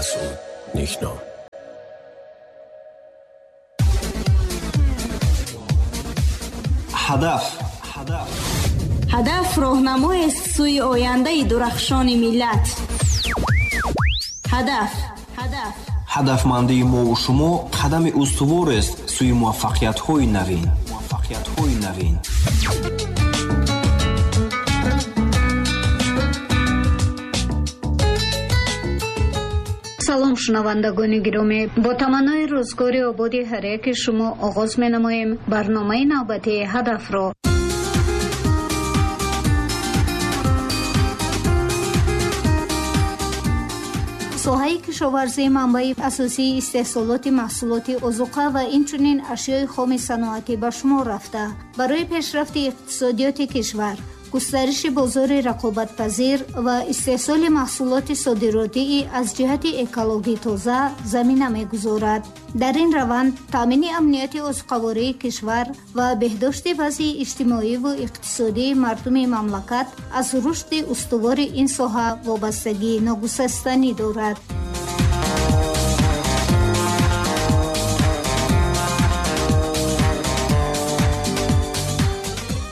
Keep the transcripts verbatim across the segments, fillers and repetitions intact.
Масъуд Никном. Ҳадаф Ҳадаф роҳнамоест сӯи ояндаи дурахшони миллат. Ҳадаф Ҳадаф Ҳадафмандии мову шумо қадами устуворест сӯи муваффақиятҳои навин. Муваффақиятҳои навин. Салом шунавандагони гиромӣ, бо таманнои рӯзгори ободи ҳар яки шумо оғоз менамоем барномаи навбатии ҳадафро. Соҳаи кишоварзӣ манбаи асосии истеҳсолоти маҳсулоти озуқа ва инчунин ашёи хоми саноатӣ ба шумор рафта, барои пешрафти иқтисодиёти кишвар, густариши бозори рақобатпазир ва истеҳсоли маҳсулоти содиротии аз ҷиҳати экологӣ тоза замина мегузорад. Дар ин раванд таъмини амнияти озуқавории кишвар ва беҳдошти вазъи иҷтимоиву иқтисодии мардуми мамлакат аз рушди устувори ин соҳа вобастагии ногусастанӣ дорад.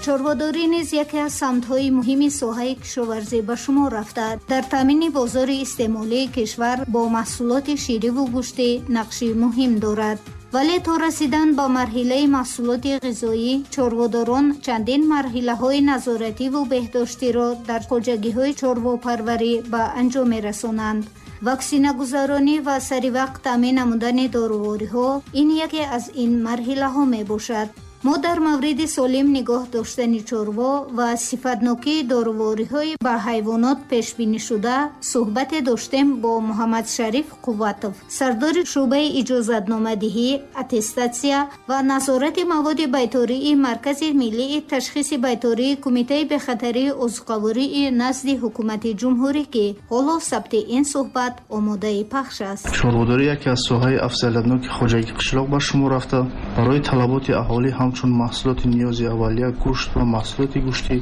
Чорводорӣ низ яке аз самтҳои муҳими соҳаи кишоварзӣ ба шумор рафта, дар таъмини бозори истеъмолии кишвар бо маҳсулоти шириву гӯштӣ нақши муҳим дорад. Вале то расидан ба марҳилаи маҳсулоти ғизоӣ, чорводорон чандин марҳилаҳои назоративу беҳдоштиро дар хоҷагиҳои чорвопарварӣ ба анҷом мерасонанд. Ваксинагузаронӣ ва саривақт таъмин намудани дорувориҳо ин яке аз ин марҳилаҳо мебошад. Мо дар мавриди солим нигоҳ доштани чорво ва сифатнокии дорувориҳои ба ҳайвонот пешбинишуда суҳбате доштем бо Муҳаммадшариф Қувватов, сардори шӯъбаи иҷозатномадиҳӣ, аттестатсия ва назорати маводи байтории Маркази миллии ташхиси байтории Кумитаи бехатарии озуқавории назди ҳукумати ҷумҳурӣ, ки ҳоло сабти ин суҳбат омодаи пахш аст. Чорводорӣ яке аз соҳаи афзалиятноки хоҷагии қишлоқ ба шумор рафта, барои талаботи аҳолӣ ҳам чун маҳсулоти ниёзи аввалия, гӯшт ва маҳсулоти гӯштӣ,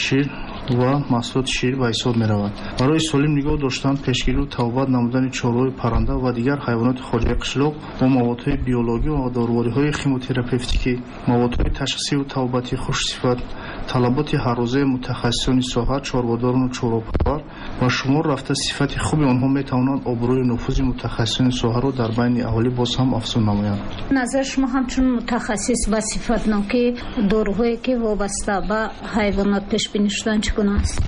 шир ва маҳсулоти шир ба ҳисоб меравад. Барои солим нигоҳ доштан, пешгирӣ ва табобат намудани чорвои парранда ва дигар ҳайвоноти хоҷагии қишлоқ бо маводҳои биологӣ ва дорувориҳои химотерапевтикӣ, маводҳои ташхисиву табобатии хушсифат, талаботи ҳаррӯзаи мутахассисони соҳа, чорводорону чорвопарвар ба шумор рафта, сифати хуби онҳо метавонанд обрӯи нуфузи мутахассисони соҳаро дар байни аҳолӣ боз ҳам афзун намоянд. Назар шумо ҳамчун мутахассис ба сифатнокии доруҳое ки вобаста ба ҳайвонот пешбинӣ шуданд чӣ гуна аст?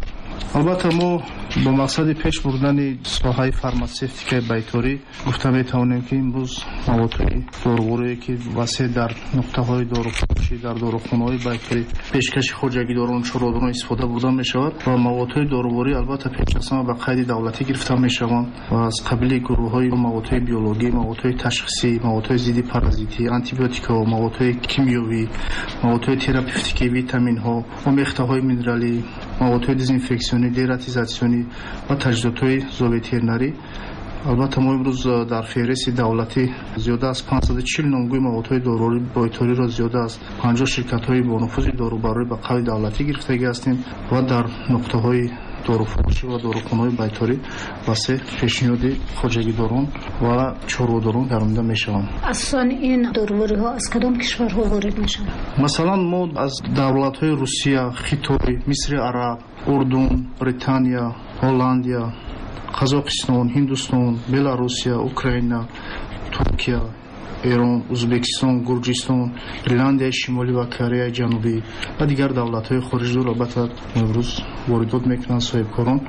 Албатта, мо бо мақсади пеш бурдани соҳаи фарматсевтикаи байторӣ гуфта метавонем, ки имрӯз маводҳои доруворие ки васеъ дар нуқтаҳои доруфурӯшӣ, дар дорухонаҳои байторӣ пешкаши хоҷагидорон, чорводорон истифода бурда мешавад ва маводҳои доруворӣ албатта пеш аз ҳама ба қайди давлатӣ гирифта мешаванд ва аз қабили гурӯҳҳои маводҳои биологӣ, маводҳои ташхисӣ, маводҳои зидди паразитӣ, антибиотикҳо, маводҳои кимиёвӣ, маводҳои терапевтикӣ, витаминҳо, омехтаҳои минералӣ, маводҳои дезинфексионӣ, дератизатсионӣ ва таҷҳизотҳои зооветеринарӣ. Албатта, мо имрӯз дар феҳристи давлатӣ зиёда аз панҷсаду чил номгӯи маводҳои доруворӣ байториро зиёда аз панҷоҳ ширкатҳои бонуфузи дорубарорӣ ба қайди давлатӣ гирифтагӣ ҳастем ва дар нуқтаҳои доруфурӯшӣ ва дорухонаҳои байторӣ васеъ пешниҳоди хоҷагидорон ва чорводорон гардонида мешаванд. Асосан ин дорувориҳо аз кадом кишварҳо ворид мешаванд? Масалан, мо аз давлатҳои Русия, Хитой, Мисри Араб, Урдун, Британия, Ҳолландия, Қазоқистон, Ҳиндустон, Беларусия, Украина, Туркия, Эрон, Ӯзбекистон, Гурҷистон, Ирландияи Шимолӣ ва Кореяи Ҷанубӣ ва дигар давлатҳои хориҷидор албатта имрӯз воридот мекунанд соҳибкорон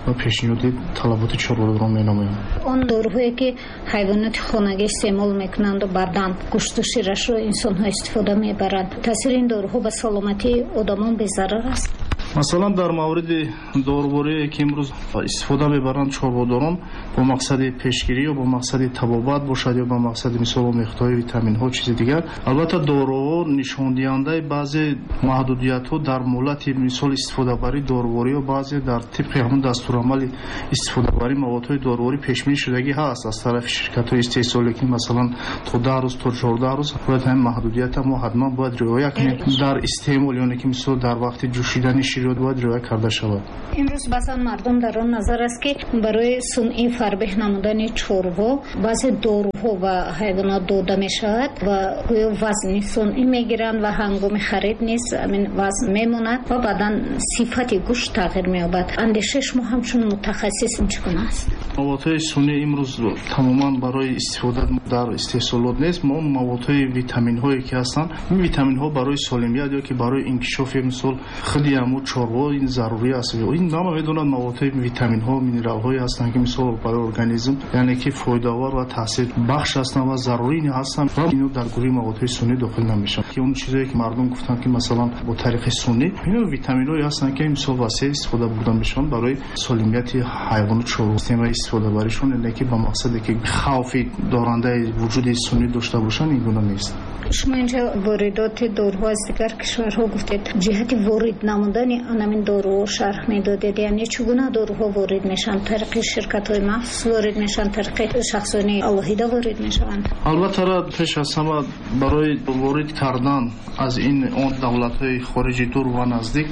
ва пешниҳоди талаботи чорводорон менамоянд. Он доруҳое ки ҳайвоноти хонагӣ истеъмол мекунанду баъдан гӯшту ширашро инсонҳо истифода мебаранд, таъсири ин доруҳо ба саломатии одамон безарар аст? Масалан, дар мавриди доруворие ки имрӯз истифода мебаранд чорводорон бо мақсади пешгирӣ ё бо мақсади табобат бошад ё бо мақсади мисол омехтаҳои витаминҳо, чизи дигар, албатта доруҳо нишондиҳандаи баъзе маҳдудиятҳо дар муҳлати мисол истифодабарии доруворӣ ё баъзе дар тибқи ҳамон дастурамали истифодабарии маводҳои доруворӣ пешбинӣ шудагӣ ҳаст аз тарафи ширкатҳои истеҳсолӣ, ки масалан то даҳ рӯз, то чордаҳ рӯз бояд ҳамин маҳдудиятро мо ҳатман бояд риоя кунем дар истеъмол, ёне ки мисол дар вақти ҷӯшидани шир бояд риоя карда шавад. Имрӯз баъзан мардум дар он назар аст, ки барои сунъӣ фарбеҳ намудани чорво баъзе доруҳо ба ҳайвонот дода мешавад ва гӯё вазни сунъӣ мегиранд ва ҳангоми харид низ ҳамин вазн мемонад ва баъдан сифати гӯшт тағйир меёбад. Андешаи шумо ҳамчун мутахассис чӣ гуна аст? Маводҳои сунъӣ имрӯз тамоман барои истифода дар истеҳсолот нест. Мо маводҳои витаминҳое ки ҳастанд, ин витаминҳо барои солимият ё ки барои инкишофи мисол худи ҳамун чорво ин зарурӣ аст. Ин ҳама медонанд маводҳои витаминҳо, минералҳое ҳастанд ки мисол барои организм яъне ки фоидаовар ва таъсирбахш ҳастанд ва зарурӣ ҳастанд ва инҳо дар гурӯҳи маводҳои сунъӣ дохил намешаванд. Ки он чизое ки мардум гуфтанд ки масалан бо тариқи сунъӣ, инҳо витаминҳое ҳастанд ки мисол васеъ истифода бурда мешаванд барои солимияти ҳайвону чорво. Системаи истифодабаришон яъне ки ба мақсаде ки хавфи дорандаи вуҷуди сунъӣ дошта бошанд, ин гуна нест. Шумо инҷо воридоти доруҳо аз дигар кишварҳо гуфтед. Ҷиҳати ворид намудани ҳамин доруҳо шарҳ медодед, яъне чӣ гуна доруҳо ворид мешаванд? Тариқи ширкатҳои махсус ворид мешаванд, тариқи шахсони алоҳида ворид мешаванд? Албатта пеш аз ҳама барои ворид кардан аз ин он давлатҳои хориҷи дур ва наздик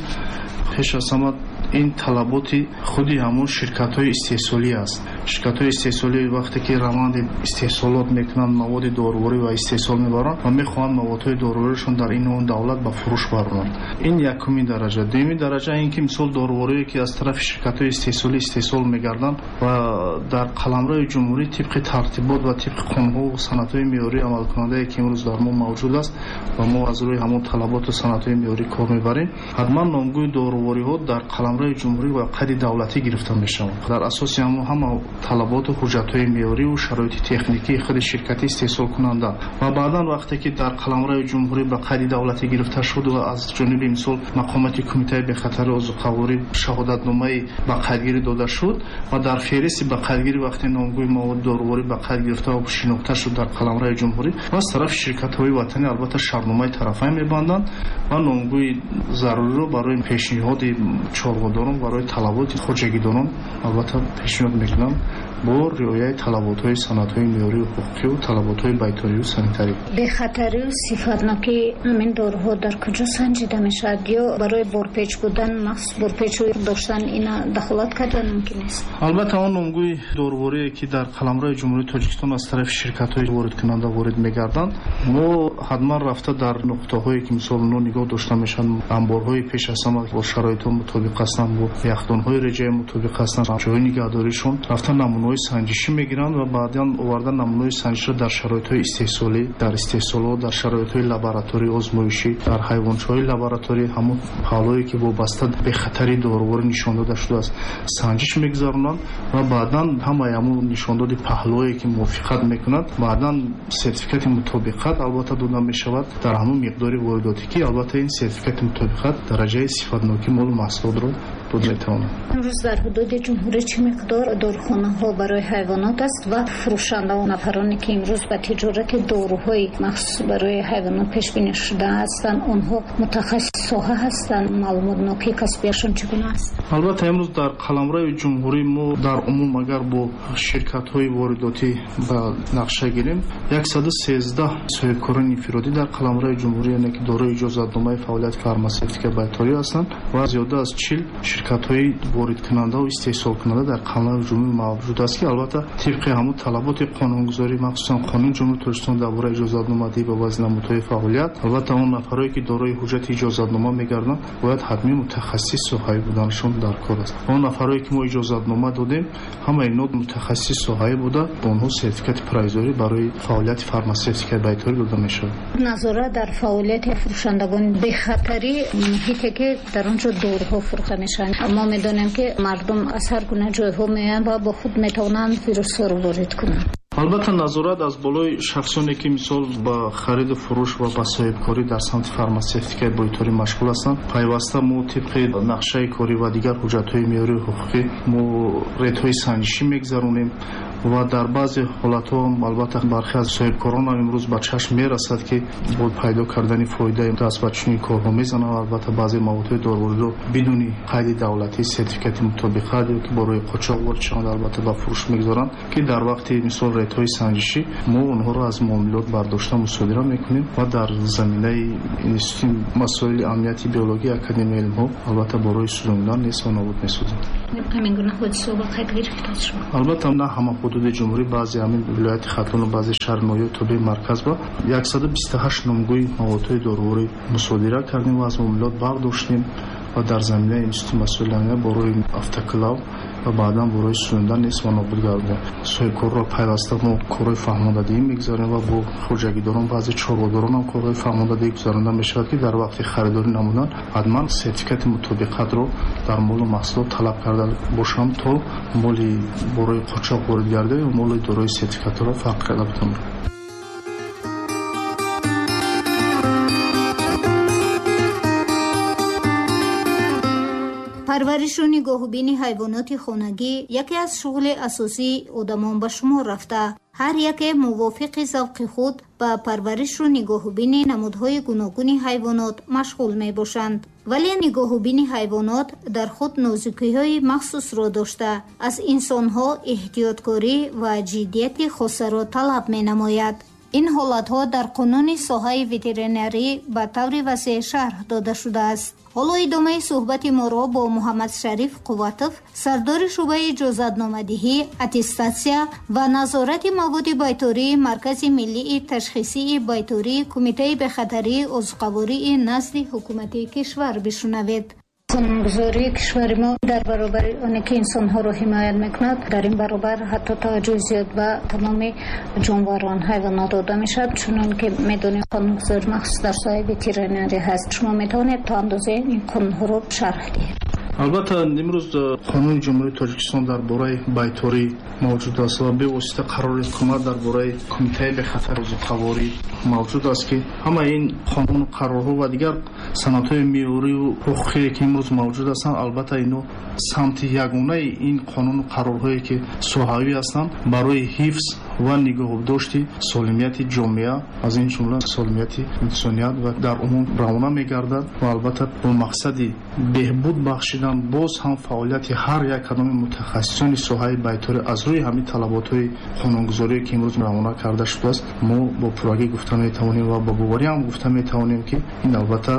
пеш аз ҳама ин талаботи худи ҳамон ширкатҳои истеҳсолӣ аст. Ширкатҳои истеҳсолӣ вақте ки раванди истеҳсолот мекунанд, маводи доруворӣ ва истеҳсол мебаранд ва мехоҳанд маводҳои доруворишон дар ин он давлат ба фурӯш баронанд. Ин якумин дараҷа. Дуюмин дараҷа ин ки мисол доруворие ки аз тарафи ширкатҳои истеҳсолӣ истеҳсол мегарданд ва дар қаламрави ҷумҳурӣ тибқи тартибот ва тибқи қонунҳо ва санадҳои меъёрии амалкунандае ки имрӯз дар мо мавҷуд аст ва мо аз рӯи ҳамон талаботу санадҳои меъёрӣ кор мебарем, ҳатман номгӯи дорувориҳо дар қаламрави ҷумҳурӣ ва қайди давлатӣ гирифта мешаванд. Дар асоси ҳамон ҳама талаботу ҳуҷҷатҳои меъёрӣ ва шароити техникии худи ширкати истеҳсолкунанда ва баъдан вақте ки дар қаламрави ҷумҳурӣ ба қайди давлатӣ гирифта шуд ва аз ҷониби мисол мақомоти кумитаи бехатари озуқаворӣ шаҳодатномаи ба қайдгирӣ дода шуд ва дар феҳристи ба қайдгирӣ вақте номгӯи маводи доруворӣ ба қайд гирифта ва шинохта шуд дар қаламрави ҷумҳурӣ, ва аз тарафи ширкатҳои ватанӣ албатта шартномаи тарафайн мебанданд ва номгӯи заруриро барои пешниҳоди чорводорон, барои талаботи хоҷагидорон албатта пешниҳод мекунанд бо риояи талаботҳои санадҳои меъёрию ҳуқуқию талаботҳои байторию санитарӣ. Бехатарию сифатнокии ҳамин доруҳо дар куҷо санҷида мешавад? Ё барои борпеч будан махсус борпечу доштан ина дахолат кардан мумкин аст? Албатта он номгӯи доруворие ки дар қаламрави ҷумҳурии Тоҷикистон аз тарафи ширкатҳои воридкунанда ворид мегарданд, мо ҳатман рафта дар нуқтаҳое ки мисол онҳо нигоҳ дошта мешаванд, анборҳои пеш аз ҳама бо шароитҳо мутобиқ ҳастанд, бо яхдонҳои реҷаи мутобиқ ҳастанд, ҷойи нигаҳдоришон рафта намунаҳои санҷишӣ мегиранд ва баъдан оварда намунаҳои санҷишро дар шароитҳои истеҳсолӣ, дар истеҳсолот, дар шароитҳои лаборатории озмоишӣ, дар ҳайвончаҳои лабораторӣ ҳамон паҳлӯе ки вобаста бехатари доруворӣ нишон дода шудааст санҷиш мегузаронанд ва баъдан ҳамаи ҳамон нишондоди паҳлӯе ки мувофиқат мекунад, баъдан сертификати мутобиқат албатта дода мешавад дар ҳамон миқдори воридотӣ ки албатта ин сертификати мутобиқат дараҷаи сифатнокии молу маҳсулотро дода метавонад. Имрӯз дар ҳудуди ҷумҳурӣ чӣ миқдор дорухонаҳо барои ҳайвонот аст ва фурӯшандаву нафароне ки имрӯз ба тиҷорати доруҳои махсус барои ҳайвонот пешбинӣ шуда ҳастанд, онҳо мутахассис соҳа ҳастанд? Маълумотнокии касбияшон чӣ гуна аст? Албатта имрӯз дар қаламрави ҷумҳурӣ мо дар умум агар бо ширкатҳои воридотӣ ба нақша гирем, яксаду сездаҳ соҳибкорони инфиродӣ дар қаламрави ҷумҳурӣ яъне ки дорои иҷозатномаи фаъолияти фармасевтика байторӣ ҳастанд ва зиёда аз чил ширкатҳои воридкунанда ва истеҳсолкунанда дар қаламрави ҷумҳурӣ мавҷуд аст ки албатта тибқи ҳамон талаботи қонунгузорӣ, махсусан қонуни ҷумҳурии Тоҷикистон дар бораи иҷозатномадиҳӣ ба баъзе намудҳои фаъолият, албатта он нафарое ки дорои ҳуҷҷати иҷозатнома мегарданд бояд ҳатмӣ мутахассис соҳавӣ буданашон дар кор аст. Он нафарое ки мо иҷозатнома додем, ҳамаи инҳо мутахассис соҳавӣ буда, ба онҳо сертификати провизорӣ барои фаъолияти фармасевтикаи байторӣ дода мешавад. Назорат дар фаъолияти фурӯшандагон, бехатарии муҳите ки дар он ҷо доруҳо фурӯхта мешаванд. Мо медонем ки мардум аз ҳар гуна ҷойҳо меоянд ва бо худ метавонанд вирусҳоро ворид кунанд. Албатта назорат аз болои шахсоне ки мисол ба хариду фурӯш ва ба соҳибкорӣ дар самти фармасевтикаи байторӣ машғул ҳастанд, пайваста мо тибқи нақшаи корӣ ва дигар ҳуҷҷатҳои меъёрию ҳуқуқӣ мо рейдҳои санҷишӣ мегузаронем ва дар баъзе ҳолатҳо албатта бархе аз соҳибкорон ҳам имрӯз ба чашм мерасад ки бо пайдо кардани фоидаи даст ба чунин корҳо мезананд. Албатта баъзе маводҳои дорувориро бидуни қайди давлатӣ, сертификати мутобиқат ё ки барои қочоқ ворид шаванд албатта ба фурӯш мегузоранд ки дар вақти мисол рейдҳои санҷишӣ мо онҳоро аз муомилот бардошта мусодира мекунем ва дар заминаи институти масоили амнияти биологии Академияи илмҳо албатта барои сӯзондан нест ва нобуд месозем. Ҳамин гуна ҳодисаҳо ба қайд гирифта шуд? Албатта, на ҳама ҳудуди ҷумҳурӣ, баъзе ҳамин вилояти Хатлон ва баъзе шаҳр ноҳияи тобеи марказ ба яксаду бисту ҳашт номгӯи маводҳои доруворӣ мусодира кардем ва аз муомилот бардоштем ва дар заминаи институти масоили амният бо роҳи автоклав ва баъдан бо роҳи сӯзондан нест ва нобуд гардидем. Соҳибкорро пайваста мо корҳои фаҳмондадиҳӣ мегузарем ва бо хоҷагидорон, баъзе чорводорон ҳам корҳои фаҳмондадиҳӣ гузаронда мешавад, ки дар вақти харидорӣ намудан ҳатман сертификати мутобиқатро дар молу маҳсулот талаб карда бошанд, то моли бо роҳи қочоқ ворид гардида ё моли дорои сертификатро фарқ карда битавонанд. Парваришу нигоҳубини ҳайвоноти хонагӣ яке аз шуғли асосии одамон ба шумор рафта. Ҳар яке мувофиқи завқи худ ба парваришу нигоҳубини намудҳои гуногуни ҳайвонот машғул мебошанд. Вале нигоҳубини ҳайвонот дар худ нозукиҳои махсусро дошта, аз инсонҳо эҳтиёткорӣ ва ҷиддияти хосаро талаб менамояд. Ин ҳолатҳо дар қонуни соҳаи ветеринарӣ ба таври васеъ шарҳ дода шудааст. Ҳоло идомаи суҳбати моро бо Муҳаммадшариф Қувватов, сардори шӯъбаи иҷозатномадиҳӣ, аттестатсия ва назорати маводи байтории Маркази миллии ташхисии байтории Кумитаи бехатарии озуқавории назди ҳукумати кишвар бишунавед. Қонунгузории кишвари мо дар баробари оне ки инсонҳоро ҳимоят мекунад, дар ин баробар ҳатто таваҷҷӯҳи зиёд ба тамоми ҷонварон, ҳайвонот дода мешавад. Чунон ки медонем, қонунгузорӣ махсус дар соҳаи ветеринарӣ ҳаст. Шумо метавонед то андозае ин қонунҳоро шарҳ диҳед? Албатта, имрӯз қонуни Ҷумҳурии Тоҷикистон дар бораи байторӣ мавҷуд аст ва бевосита қарори ҳукумат дар бораи Кумитаи бехатар озуқаворӣ мавҷуд аст, ки ҳамаи ин қонуну қарорҳо ва дигар санадҳои меъёриву ҳуқуқие ки имрӯз мавҷуд ҳастанд, албатта ино самти ягонаи ин қонуну қарорҳое ки соҳавӣ ҳастанд барои ҳифз ва нигоҳдошти солимияти ҷомеа, аз ин ҷумла солимияти инсоният ва дар умум равона мегардад ва албатта бо мақсади беҳбуд бахшидан боз ҳам фаъолияти ҳар як кадоми мутахассисони соҳаи байторӣ аз рӯи ҳамин талаботҳои қонунгузорие ки имрӯз равона карда шудааст, мо бо пуррагӣ гуфта метавонем ва бо боварӣ ҳам гуфта метавонем, ки ин албатта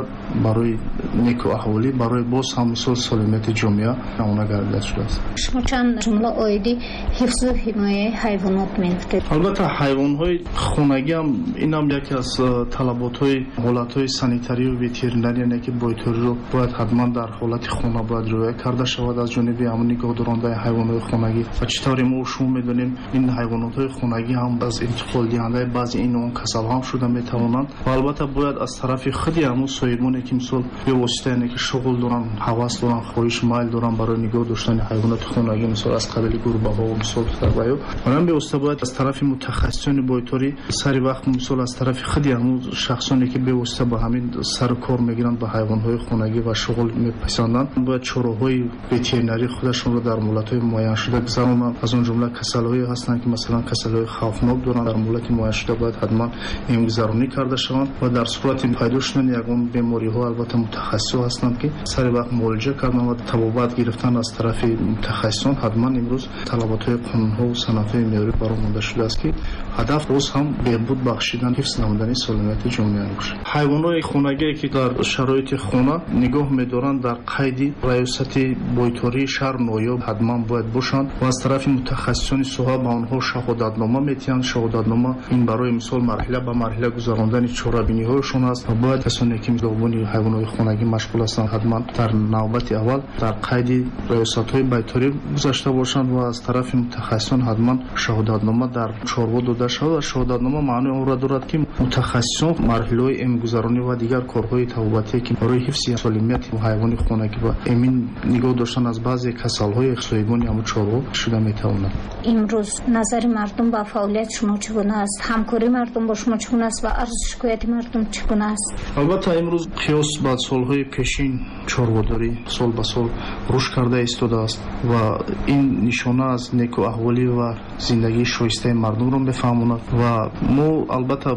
барои неку аҳолӣ, барои боз ҳам мисол солимияти ҷомеа равона гардида шудааст. Шумо чанд ҷумла оиди ҳифзу ҳимояи ҳайвонот мегуфтед? Албатта, ҳайвонҳои хонагӣ ҳам инам яке аз талаботҳои ҳолатҳои санитарию ветеринарӣ, яъне ки байториро бояд ҳатман дар ҳолати хона бояд риоя карда шавад аз ҷониби ҳамон нигоҳдорандаи ҳайвонҳои хонагӣ. Ва чӣ тавре мо шумо медонем, ин ҳайвонотҳои хонагӣ ҳам аз интиқолдиҳандаи баъзе ин он касалҳо ҳам шуда метавонанд ва албатта бояд аз тарафи худи ҳамон соҳибоне ки мисол бевосита яъне ки шуғл доранд, ҳавас доранд, хоҳиш майл доранд барои нигоҳ доштани ҳайвоноти хонагӣ, мисол аз қабили гурбаҳо мисол ва ё ҳам бевосита бояд аз тарафи мутахассисони байторӣ сари вақт мисол аз тарафи худи ҳамон шахсоне ки бевосита ба ҳамин сару кор мегиранд ба ҳайвонҳои хонагӣ ва шуғл мепасанданд, бояд чораҳои ветеринарии худашонро дар муҳлатҳои муайяншуда гузаронанд. Аз он ҷумла касалиҳое ҳастанд ки масалан касалиҳои хавфнок доранд, дар муҳлати муайяншуда бояд ҳатман эмгузаронӣ карда шаванд ва дар сурати пайдо шудани ягон бемориҳо албатта мутахассисҳо ҳастанд ки сари вақт муолиҷа кардан ва табобат гирифтан аз тарафи мутахассисон ҳатман имрӯз талаботҳои қонунҳо ва санадҳои меъёрӣ баромада шудааст, ки ҳадаф боз ҳам беҳбуд бахшидан, ҳифз намудани солимияти ҷомеа бошад. Ҳайвонҳои хонагие ки дар шароити хона нигоҳ медоранд, дар қайди раёсати байтории шаҳр ноҳия ҳатман бояд бошанд ва аз тарафи мутахассисони соҳа ба онҳо шаҳодатнома метиҳанд. Шаҳодатнома ин барои мисол марҳила ба марҳила гузарондани чорабиниҳояшон аст ва бояд касоне ки нигоҳбони ҳайвонҳои хонагӣ машғул ҳастанд ҳатман дар навбати аввал дар қайди раёсатҳои байторӣ гузашта бошанд ва аз тарафи мутахассисон ҳатман шаҳодатнома дар чорво дода шавад ва шаҳодатнома маънои онро дорад, ки мутахассисон марҳилаҳои эмгузаронӣ ва дигар корҳои табобатие ки барои ҳифзи солимияти ҳайвони хонагӣ ва эмин нигоҳ доштан аз баъзе касалҳои соҳибони ҳамон чорво шуда метавонад. Имрӯз назари мардум ба фаъолияти шумо чӣ гуна аст? Ҳамкории мардум бо шумо чӣ гуна аст ва арзу шикояти мардум чӣ гуна аст? Албатта, имрӯз қиёс ба солҳои пешин чорводорӣ сол ба сол рушд карда истодааст ва ин нишона аз неку аҳволӣ ва зиндагии шоистаи мардумро мефаҳмонад ва мо албатта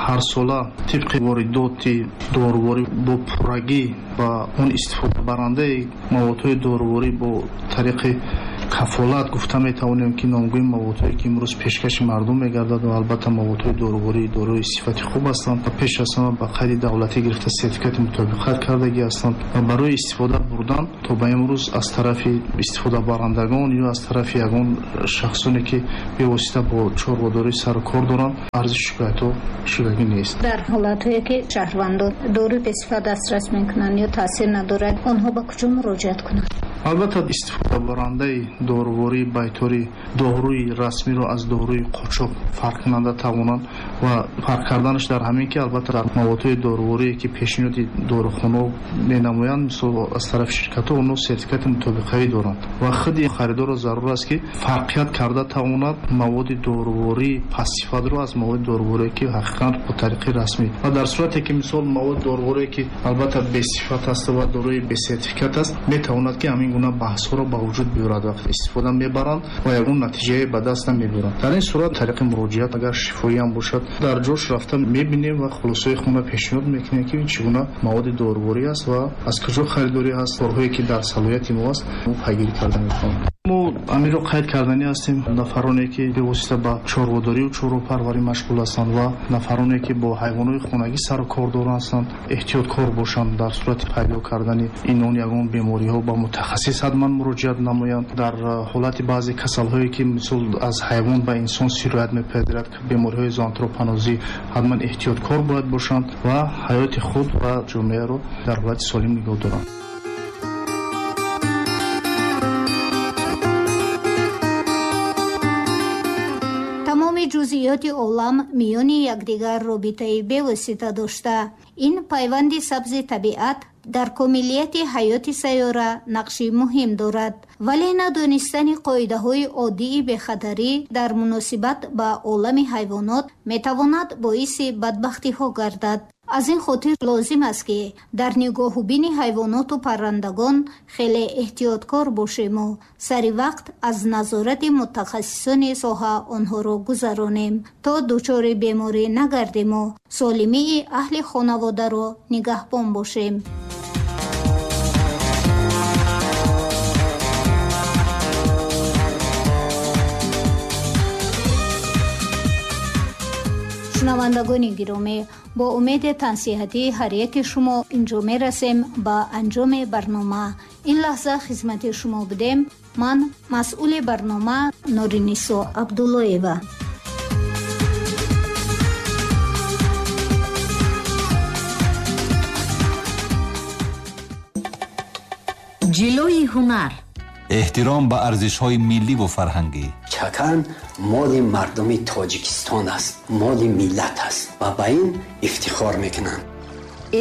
ҳарсола тибқи воридоти доруворӣ бо пуррагӣ ба он истифодабарандаи маводҳои доруворӣ бо тариқи кафолат гуфта метавонем, ки номгӯи маводҳое ки имрӯз пешкаши мардум мегардад ва албатта маводҳои доруворӣ дорои сифати хуб ҳастанд ва пеш аз ҳама ба қайди давлатӣ гирифта сертификати мутобиқат кардагӣ ҳастанд ва барои истифода бурдан то ба имрӯз аз тарафи истифодабарандагон ё аз тарафи ягон шахсоне ки бевосита бо чорводорӣ сару кор доранд, арзи шикоятҳо шудагӣ нест. Дар ҳолатҳое ки шаҳрвандон доруи бесифат дастрас мекунанд ё таъсир надорад, онҳо ба куҷо муроҷиат кунанд? Албатта истифодабарандаи дорувории байторӣ доруи расмиро аз доруи қочоқ фарқ кунанда тавонанд ва фарқ карданаш дар ҳамин ки албатта дар маводҳои доруворие ки пешниҳоди дорухонаҳо менамоянд, мисол аз тарафи ширкатҳо, онҳо сертификати мутобиқавӣ доранд ва худи харидорро зарур аст ки фарқият карда тавонад маводи дорувории пастсифатро аз маводи доруворие ки ҳақиқатан бо тариқи расмӣ ва дар сурате ки мисол маводи доруворие ки албатта бесифат аст ва доруи бесертификат аст, метавонад ки ҳамин гуна баҳсҳоро ба вуҷуд биёрад вақте истифода мебаранд ва ягон натиҷае ба даст намебаранд. Дар ин сурат тариқи муроҷиат агар шифоӣ ҳам бошад, дар ҷош рафта мебинем ва хулосаи худро пешниҳод мекунем ки ин чӣ гуна маводи доруворӣ аст ва аз куҷо харидорӣ ҳаст, корҳое ки дар салоҳияти мо аст, мо пайгирӣ карда метавонем. Мо амиро қайд карданӣ ҳастем, нафароне ки бевосита ба чорводорӣ ва чорвопарварӣ машғул ҳастанд ва нафароне ки бо ҳайвонҳои хонагӣ сару кор доранд ҳастанд, эҳтиёткор бошанд дар сурати пайдо кардани ин он ягон бемориҳо ба мутахассис ҳатман муроҷиат намоянд. Дар ҳолати баъзе касалҳое ки мисол аз ҳайвон ба инсон сироят мепазирад, бемориҳои зоантропонозӣ, ҳатман эҳтиёткор бояд бошанд ва ҳаёти худ ва ҷомеаро дар ҳолати солим нигоҳ доранд. Ҷузъиёти олам миёни якдигар робитаи бевосита дошта, ин пайванди сабзи табиат дар комилияти ҳаёти сайёра нақши муҳим дорад. Вале надонистани қоидаҳои оддии бехатарӣ дар муносибат ба олами ҳайвонот метавонад боиси бадбахтиҳо гардад. Аз ин хотир лозим аст, ки дар нигоҳубини ҳайвоноту паррандагон хеле эҳтиёткор бошему сари вақт аз назорати мутахассисони соҳа онҳоро гузаронем, то дучори беморӣ нагардему солимии аҳли хонаводаро нигаҳбон бошем. Шунавандагони гиромӣ, бо умеди тансиҳатии ҳар яки шумо инҷо мерасем ба анҷоми барнома. Ин лаҳза хизмати шумо будем. Ман масъули барнома Нуринисо Абдуллоева. Ҷилои ҳунар, эҳтиром ба арзишҳои милливу фарҳангӣ. Чакан моли мардуми Тоҷикистон аст, моли миллат аст ва ба ин ифтихор мекунанд.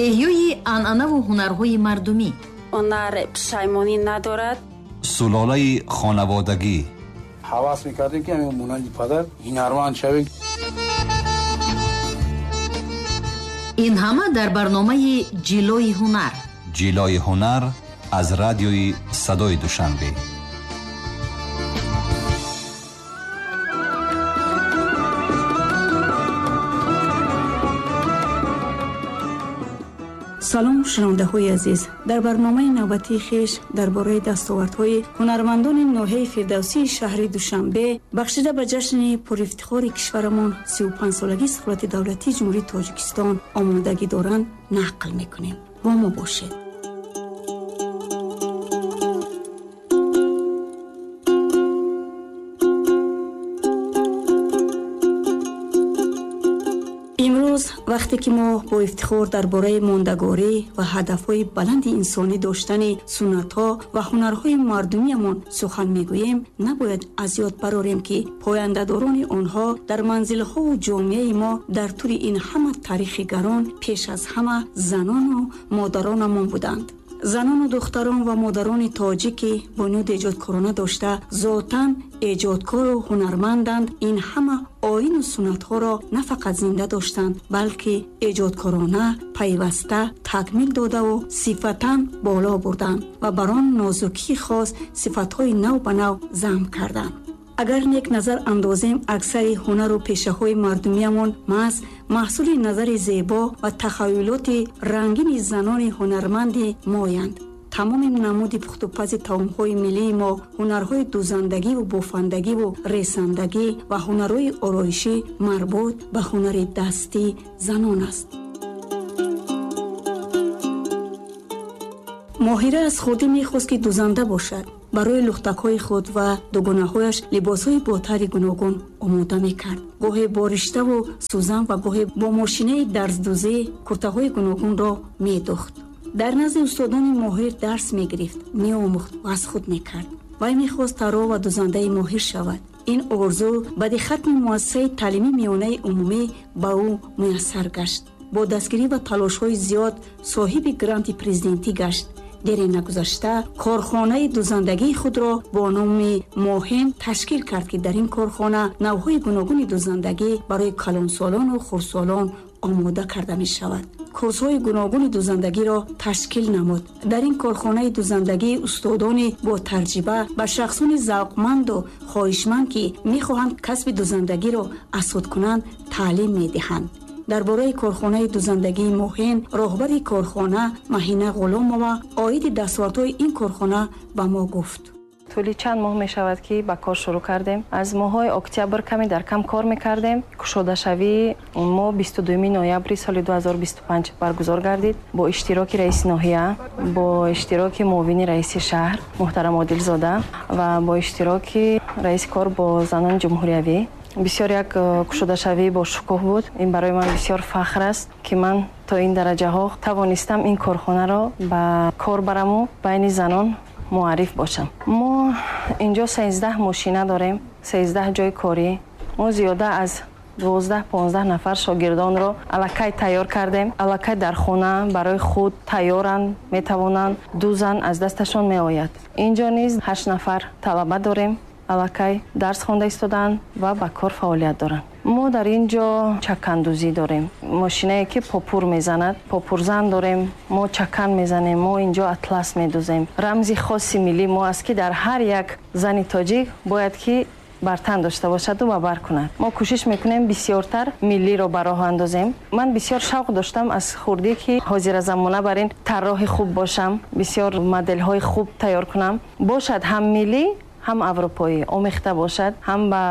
Эҳёи анъанаву ҳунарҳои мардумӣ. Ҳунар пушаймонӣ надорад. Сулолаи хонаводагӣ. Ҳавас мекардем, ки ҳамин монанди падар ҳунарманд шавем. Ин ҳама дар барномаи Ҷилои ҳунар. Ҷилои ҳунар аз радиои Садои Душанбе. Салом, шунавандаҳои азиз. Дар барномаи навбатии хеш дар бораи дастовардҳои ҳунармандони ноҳияи Фирдавсии шаҳри Душанбе бахшида ба ҷашни пурифтихори кишварамон сию панҷсолагии истиқлолияти давлатии Ҷумҳурии Тоҷикистон омодагӣ доранд нақл мекунем. Бо мо бошед. Вақте ки мо бо ифтихор дар бораи мондагорӣ ва ҳадафҳои баланди инсонӣ доштани суннатҳо ва ҳунарҳои мардумиямон сухан мегӯем, набояд аз ёд барорем, ки пояндадорони онҳо дар манзилҳову ҷомеаи мо дар тӯли ин ҳама таърихи гарон пеш аз ҳама занону модаронамон буданд. Занону духтарон ва модарони тоҷикӣ бунёди эҷодкорона дошта, зотан эҷодкору ҳунарманданд. Ин ҳама оину суннатҳоро на фақат зинда доштанд, балки эҷодкорона пайваста такмил додаву сифатан боло бурданд ва бар он нозукии хос сифатҳои нав ба нав замм карданд. Агар нек назар андозем, аксари ҳунару пешаҳои мардумиямон маҳз маҳсули назари зебо ва тахаюлоти рангини занони ҳунарманди моянд. Тамоми намуди пухтупази таомҳои миллии мо, ҳунарҳои дӯзандагиву бофандагиву ресандагӣ ва ҳунарҳои ороишӣ марбут ба ҳунари дастии занон аст. Моҳира аз хурдӣ мехост, ки дӯзанда бошад. Барои лухтакҳои худ ва дугонаҳояш либосҳои бо тарҳи гуногун омода мекард. Гоҳе бо риштаву сӯзан ва гоҳе бо мошинаи дарздӯзӣ куртаҳои гуногунро медӯхт. Дар назди устодони моҳир дарс мегирифт, меомӯхт ва аз худ мекард. Вай мехост тарроҳ ва дӯзандаи моҳир шавад. Ин орзу баъди хатми муассисаи таълимии миёнаи умумӣ ба ӯ муяссар гашт. Бо дастгирӣ ва талошҳои зиёд соҳиби гранти президентӣ гашт. Дере нагузашта корхонаи дӯзандагии худро бо номи Моҳин ташкил кард, ки дар ин корхона навъҳои гуногуни дӯзандагӣ барои калонсолону хурдсолон омода карда мешавад. Курсҳои гуногуни дӯзандагиро ташкил намуд. Дар ин корхонаи дӯзандагӣ устодони бо таҷриба ба шахсони завқманду хоҳишманд, ки мехоҳанд касби дӯзандагиро аз худ кунанд, таълим медиҳанд. Дар бораи корхонаи дӯзандагии Моҳин роҳбари корхона Маҳина Ғуломова оиди дастовардҳои ин корхона ба мо гуфт. Тӯли чанд моҳ мешавад, ки ба кор шурӯъ кардем. Аз моҳҳои октябр каме дар кам кор мекардем. Кушодашавии мо бисту дуюми ноябри соли ду ҳазору бисту панҷ баргузор гардид бо иштироки раиси ноҳия, бо иштироки муовини раиси шаҳр муҳтарам Одилзода ва бо иштироки раиси кор бо занони ҷумҳуриявӣ. Бисёр як кушодашавӣ бо шукӯҳ буд. Ин барои ман бисёр фахр аст, ки ман то ин дараҷаҳо тавонистам ин корхонаро ба кор бараму байни занон муарриф бошам. Мо инҷо сездаҳ мошина дорем, сездаҳ ҷои корӣ. Мо зиёда аз дувоздаҳ понздаҳ нафар шогирдонро аллакай тайёр кардем. Аллакай дар хона барои худ тайёранд, метавонанд, дӯзанд, аз дасташон меояд. Инҷо низ ҳашт нафар талаба дорем, аллакай дарс хонда истодаанд ва ба кор фаъолият доранд. Мо дар ин ҷо чакандӯзӣ дорем, мошинае ки попур мезанад, попурзан дорем, мо чакан мезанем, мо инҷо атлас медӯзем. Рамзи хоси миллии мо аст, ки дар ҳар як зани тоҷик бояд ки бар тан дошта бошаду ба бар кунад. Мо кӯшиш мекунем бисёртар миллиро ба роҳ андозем. Ман бисёр шавқ доштам аз хурдӣ, ки ҳозиразамона бар ин тарроҳи хуб бошам, бисёр моделҳои хуб тайёр кунам. Бошад ҳам миллӣ, ҳам аврупоӣ омехта бошад, ҳам ба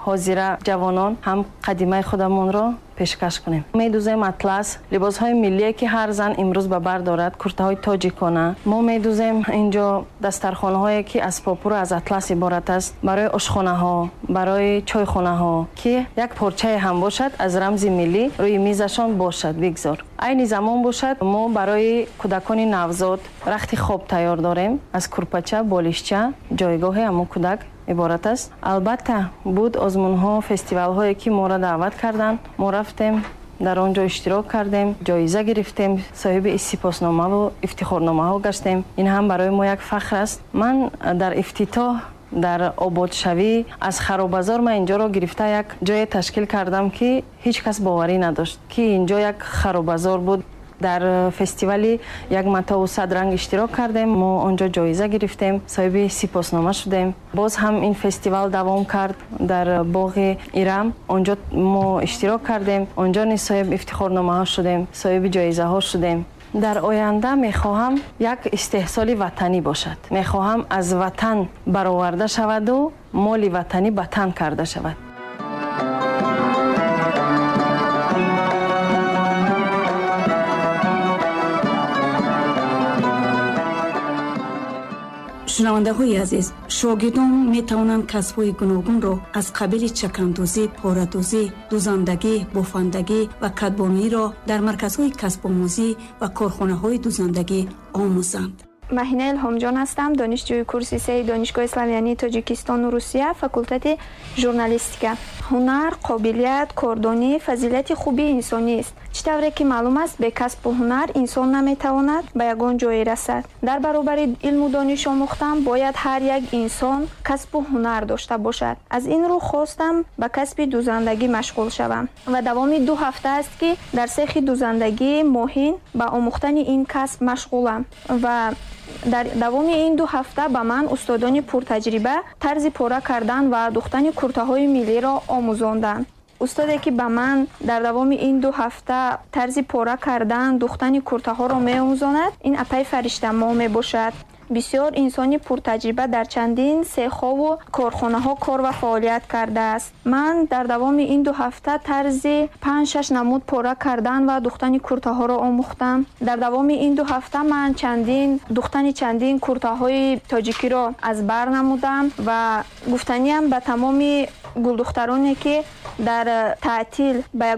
ҳозира ҷавонон, ҳам қадимаи худамонро пешкаш кунем. Медӯзем атлас, либосҳои миллие, ки ҳар зан имрӯз ба бар дорад, куртаҳои тоҷикона. Мо медӯзем инҷо дастархонаҳое, ки аз попуру аз атлас иборат аст, барои ошхонаҳо, барои чойхонаҳо, ки як порчае ҳам бошад аз рамзи миллӣ рӯи мизашон бошад, бигзор. Айни замон бошад, мо барои кӯдакони навзод рахти хоб тайёр дорем, аз курпача, болишча, ҷойгоҳи ҳамон кӯдак иборат аст. Албатта буд озмунҳо, фестивалҳое, ки моро даъват карданд, мо рафтем, дар он ҷо иштирок кардем, ҷоиза гирифтем, соҳиби сипосномаву ифтихорномаҳо гаштем. Ин ҳам барои мо як фахр аст. Ман дар ифтитоҳ, дар ободшавӣ аз харобазор ман инҷоро гирифта як ҷое ташкил кардам, ки ҳеҷ кас боварӣ надошт, ки инҷо як харобазор буд. Дар фестивали як матову сад ранг иштирок кардем, мо онҷо ҷоиза гирифтем, соҳиби сипоснома шудем. Боз ҳам ин фестивал давом кард дар боғи Ирам, онҷо мо иштирок кардем, онҷо низ соҳиби ифтихорномаҳо шудем, соҳиби ҷоизаҳо шудем. Дар оянда мехоҳам як истеҳсоли ватанӣ бошад. Мехоҳам аз ватан бароварда шаваду моли ватанӣ ба тан карда шавад. Шунавандаҳои азиз, шогирдон метавонанд касбҳои гуногунро аз қабили чакандӯзӣ, порадӯзӣ, дӯзандагӣ, бофандагӣ ва кадбониро дар марказҳои касбомӯзӣ ва корхонаҳои дӯзандагӣ омӯзанд. Маҳина Илҳомҷон ҳастам, донишҷӯи курси сеи Донишгоҳи славянии Тоҷикистону Русия, факултети журналистика. Ҳунар, қобилият, кордонӣ фазилати хуби инсонист. Чӣ тавре ки маълум аст, бе касбу ҳунар инсон наметавонад ба ягон ҷое расад. Дар баробари илму дониш омӯхтан бояд ҳар як инсон касбу ҳунар дошта бошад. Аз ин рӯ хостам ба касби дӯзандагӣ машғул шавам ва давоми ду ҳафта аст, ки дар сехи дӯзандагии Моҳин ба омӯхтани ин касб машғулам ва дар давоми ин ду ҳафта ба ман устодони пуртаҷриба тарзи пора кардан ва духтани куртаҳои миллиро омӯзонданд. Устоде ки ба ман дар давоми ин ду ҳафта тарзи пора кардан, духтани куртаҳоро меомӯзонад, ин апаи Фариштамо мебошад. Бисёр инсони пуртаҷриба, дар чандин сехову корхонаҳо кор ва фаъолият кардааст. Ман дар давоми ин ду ҳафта тарзи панҷ-шаш намуд пора кардан ва духтани куртаҳоро омӯхтам. Дар давоми ин ду ҳафта ман чандин духтани чандин куртаҳои тоҷикиро аз бар намудам ва гуфтаниам ба тамоми гулдухтароне, ки дар таътил ба